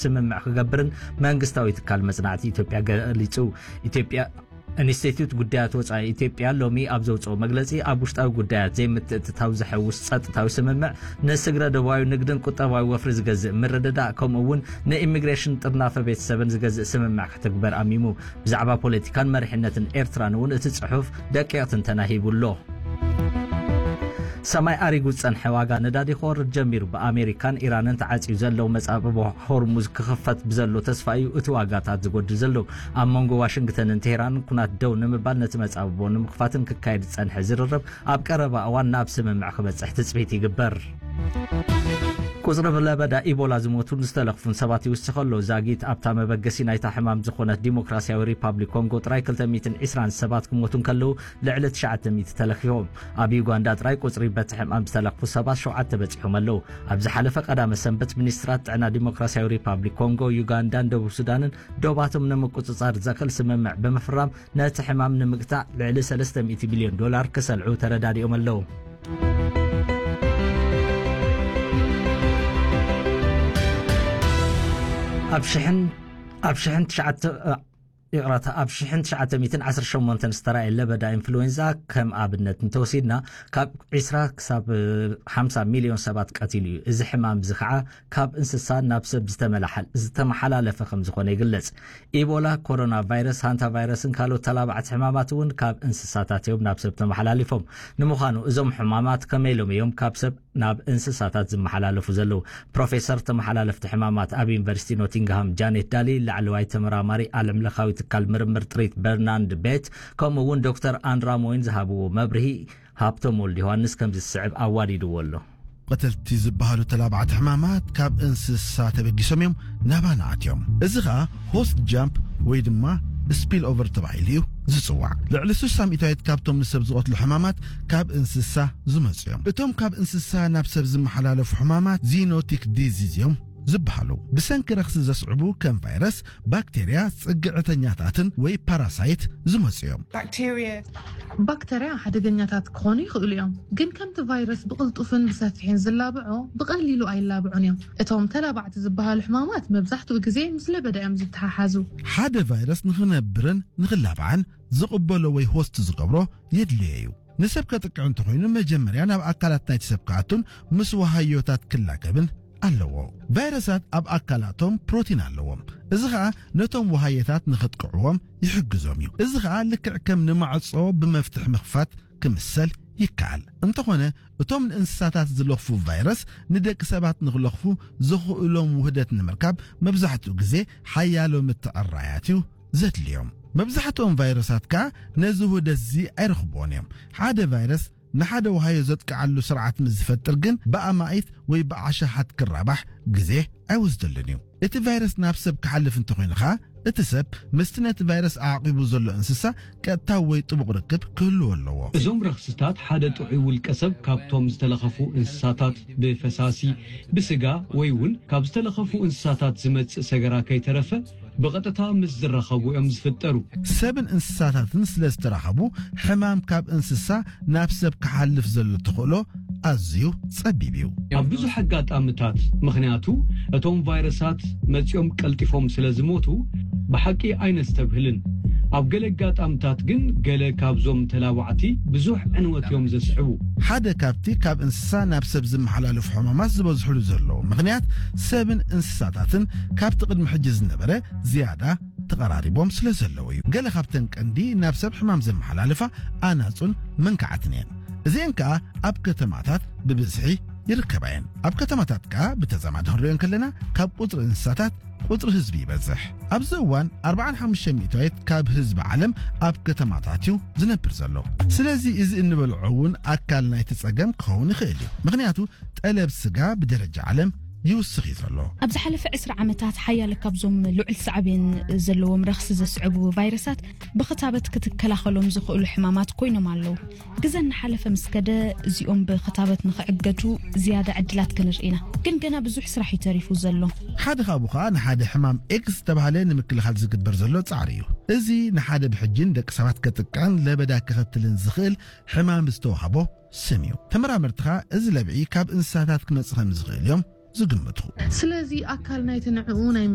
ስምምዕ ክገብርን መንግስታዊ ትካል መጽናዕቲ ኢትዮጵያ ገሊጹ። ኢትዮጵያ ኢንስቲትዩት ጉዳያት ወጻኢ ኢትዮጵያ ሎሚ ኣብ ዘውጽኦ መግለጺ፣ ኣብ ውሽጣዊ ጉዳያት ዘይምትእትታው ዘሐውስ ጸጥታዊ ስምምዕ፣ ንስግረ ዶባዊ ንግድን ቁጠባዊ ወፍሪ ዝገዝእ ምርድዳእ፣ ከምኡ እውን ንኢሚግሬሽን ጥርናፈ ቤተሰብን ዝገዝእ ስምምዕ ክትግበር ኣሚሙ። ብዛዕባ ፖለቲካን መሪሕነትን ኤርትራን እውን እቲ ጽሑፍ ደቂቕ ትንተና ሂቡ ኣሎ። ሰማይ ኣሪጉ ዝጸንሐ ዋጋ ነዳዲ ክወርድ ጀሚሩ። ብኣሜሪካን ኢራንን ተዓጽዩ ዘሎ መጻብቦ ሆርሙዝ ክኽፈት ብዘሎ ተስፋ እዩ እቲ ዋጋታት ዝጎድል ዘሎ። ኣብ መንጎ ዋሽንግተንን ቴህራንን ኩናት ደው ንምባል ነቲ መጻብቦ ንምኽፋትን ክካየድ ዝጸንሐ ዝርርብ ኣብ ቀረባ እዋን ናብ ስምምዕ ክበጽሕ ትጽቢት ይግበር። ቁጽሪ ብለበዳ ኢቦላ ዝሞቱን ዝተለኽፉን ሰባት ይውስኽ ኣሎ። ዛጊት ኣብታ መበገሲ ናይታ ሕማም ዝኾነት ዲሞክራሲያዊ ሪፓብሊክ ኮንጎ ጥራይ ክልተ ሚእትን ዕስራን ሰባት ክሞቱ እንከለዉ፣ ልዕሊ ትሽዓተ ሚእቲ ተለኺፎም። ኣብ ዩጋንዳ ጥራይ ቁጽሪ በቲ ሕማም ዝተለኽፉ ሰባት ሸውዓተ በጺሖም ኣለዉ። ኣብ ዝሓለፈ ቀዳመ ሰንበት፣ ሚኒስትራት ጥዕና ዲሞክራሲያዊ ሪፓብሊክ ኮንጎ፣ ዩጋንዳን ደቡብ ሱዳንን ዶባቶም ንምቁጽጻር ዘኽእል ስምምዕ ብምፍራም፣ ነቲ ሕማም ንምግታእ ልዕሊ ሰለስተ ሚእቲ ሚልዮን ዶላር ክሰልዑ ተረዳዲኦም ኣለዉ። ኣብ ሽሕን፣ ኣብ ሽሕን ትሽዓተ፣ ይቕረታ፣ ኣብ ሽሕን ትሽዓተ ሚእትን ዓሰርተ ሸሞንተን ዝተራእየ ለበዳ ኢንፍሉዌንዛ ከም ኣብነት እንተወሲድና፣ ካብ ዕስራ ክሳብ ሓምሳ ሚልዮን ሰባት ቀቲሉ እዩ። እዚ ሕማም እዚ ኸዓ ካብ እንስሳ ናብ ሰብ ዝተመላሓል-፣ ዝተመሓላለፈ ከም ዝኾነ ይግለጽ። ኢቦላ፣ ኮሮና ቫይረስ፣ ሃንታ ቫይረስን ካልኦት ተላባዕቲ ሕማማት እውን ካብ እንስሳታት እዮም ናብ ሰብ ተመሓላሊፎም። ንምዃኑ እዞም ሕማማት ከመይ ኢሎም እዮም ካብ ሰብ ናብ እንስሳታት ዝመሓላለፉ ዘለዉ? ፕሮፌሰር ተመሓላለፍቲ ሕማማት ኣብ ዩኒቨርሲቲ ኖቲንግሃም ጃኔት ዳሊ፣ ላዕለዋይ ተመራማሪ ዓለምለኻዊ ትካል ምርምር ጥሪት በርናንድ ቤት፣ ከምኡ እውን ዶክተር ኣንድራ ሞይን ዝሃብዎ መብርሂ ሃብቶም ወልድ ዮሃንስ ከምዚ ዝስዕብ ኣዋዲድዎ ኣሎ። ቀተልቲ ዝበሃሉ ተላባዕቲ ሕማማት ካብ እንስሳ ተበጊሶም እዮም ናባና ኣትዮም። እዚ ኸኣ ሆስት ጃምፕ ወይ ድማ ስፒል ኦቨር ተባሂሉ እዩ ዝጽዋዕ። ልዕሊ ስሳ ሚእታዊት ካብቶም ንሰብ ዝቐትሉ ሕማማት ካብ እንስሳ ዝመጹ እዮም። እቶም ካብ እንስሳ ናብ ሰብ ዝመሓላለፉ ሕማማት ዚኖቲክ ዲዚዝ እዮም ዝበሃሉ። ብሰንኪ ረኽሲ ዘስዕቡ ከም ቫይረስ፣ ባክቴርያ፣ ጽግዕተኛታትን ወይ ፓራሳይት ዝመጹ እዮም። ባክቴርያ ሓደገኛታት ክኾኑ ይኽእሉ እዮም፣ ግን ከምቲ ቫይረስ ብቕልጡፍን ብሰፊሕን ዝላብዖ፣ ብቐሊሉ ኣይላብዑን እዮም። እቶም ተላባዕቲ ዝበሃሉ ሕማማት መብዛሕትኡ ግዜ ምስ ለበዳ እዮም ዝተሓሓዙ። ሓደ ቫይረስ ንኽነብርን ንኽላባዕን ዝቕበሎ ወይ ሆስት ዝገብሮ የድልዮ እዩ። ንሰብ ከጥቅዕ እንተኾይኑ፣ መጀመርያ ናብ ኣካላት ናይቲ ሰብ ክኣቱን ምስ ወሃዮታት ክላከብን ኣለዎ። ቫይረሳት ኣብ ኣካላቶም ፕሮቲን ኣለዎም። እዚ ኸኣ ነቶም ወሃየታት ንኸጥቅዕዎም ይሕግዞም እዩ። እዚ ኸኣ ልክዕ ከም ንማዕጾ ብመፍትሕ ምኽፋት ክምሰል ይከኣል። እንተኾነ፣ እቶም ንእንስሳታት ዝለኽፉ ቫይረስ ንደቂ ሰባት ንኽለኽፉ ዘኽእሎም ውህደት ንምርካብ መብዛሕትኡ ግዜ ሓያሎ ምትዕራያት እዩ ዘድልዮም። መብዛሕትኦም ቫይረሳት ከኣ ነዚ ውህደት እዚ ኣይረኽብዎን እዮም። ሓደ ቫይረስ ንሓደ ወሃዮ ዘጥቅዓሉ ስርዓት ምስ ዝፈጥር ግን ብኣማኢት ወይ ብኣሽሓት ክራባሕ ግዜ ኣይወስደሉን እዩ። እቲ ቫይረስ ናብ ሰብ ክሓልፍ እንተኾይኑ ኸኣ እቲ ሰብ ምስቲ ነቲ ቫይረስ ኣዕቂቡ ዘሎ እንስሳ ቀጥታዊ ወይ ጥቡቕ ርክብ ክህልዎ ኣለዎ። እዞም ረኽስታት ሓደ ጥዑይ ውልቀ ሰብ ካብቶም ዝተለኸፉ እንስሳታት ብፈሳሲ፣ ብስጋ ወይ እውን ካብ ዝተለኸፉ እንስሳታት ዝመጽእ ሰገራ ከይተረፈ ብቐጥታ ምስ ዝራኸቡ እዮም ዝፍጠሩ። ሰብን እንስሳታትን ስለ ዝተራኸቡ ሕማም ካብ እንስሳ ናብ ሰብ ክሓልፍ ዘሎ ተኽእሎ ኣዝዩ ጸቢብ እዩ። ኣብ ብዙሕ ኣጋጣምታት፣ ምኽንያቱ እቶም ቫይረሳት መጺኦም ቀልጢፎም ስለ ዝሞቱ ብሓቂ ኣይነስተብህልን። ኣብ ገለ ኣጋጣምታት ግን ገለ ካብዞም ተላባዕቲ ብዙሕ ዕንወት እዮም ዘስዕቡ። ሓደ ካብቲ ካብ እንስሳ ናብ ሰብ ዝመሓላለፉ ሕማማት ዝበዝሕሉ ዘለዉ ምኽንያት ሰብን እንስሳታትን ካብቲ ቅድሚ ሕጂ ዝነበረ ዝያዳ ተቐራሪቦም ስለ ዘለዉ እዩ። ገለ ካብተን ቀንዲ ናብ ሰብ ሕማም ዘመሓላልፋ ኣናጹን መንካዓትን እየን። እዚአን ከኣ ኣብ ከተማታት ብብዝሒ ይርከባ እየን። ኣብ ከተማታት ከኣ ብተዛማዲ ክንሪኦ እንከለና ካብ ቁጽሪ እንስሳታት ቁጽሪ ህዝቢ ይበዝሕ። ኣብዚ እዋን ኣርብዓን ሓሙሽተ ሚእታዊት ካብ ህዝቢ ዓለም ኣብ ከተማታት እዩ ዝነብር ዘሎ። ስለዚ እዚ እንበልዖ እውን ኣካል ናይቲ ጸገም ክኸውን ይኽእል እዩ። ምኽንያቱ ጠለብ ስጋ ብደረጃ ዓለም ይውስኽ እዩ ዘሎ። ኣብ ዝሓለፈ ዕስራ ዓመታት ሓያለ ካብዞም ልዑል ሳዕቤን ዘለዎም ረኽሲ ዘስዕቡ ቫይረሳት ብኽታበት ክትከላኸሎም ዝኽእሉ ሕማማት ኮይኖም ኣለዉ። ግዘ እናሓለፈ ምስ ከደ እዚኦም ብኽታበት ንኽዕገቱ ዝያዳ ዕድላት ክንርኢ ኢና። ግን ገና ብዙሕ ስራሕ እዩ ተሪፉ ዘሎ። ሓደ ካብኡ ኸኣ ንሓደ ሕማም ኤክስ ዝተባህለ ንምክልኻል ዝግበር ዘሎ ጻዕሪ እዩ። እዚ ንሓደ ብሕጂ ንደቂ ሰባት ከጥቅዕን ለበዳ ከኸትልን ዝኽእል ሕማም ዝተዋህቦ ስም እዩ። ተመራመርቲ ኸኣ እዚ ለብዒ ካብ እንስሳታት ክመጽእ ከም ዝኽእል እዮም ዝግምቱ። ስለዚ ኣካል ናይቲ ንዕኡ ናይ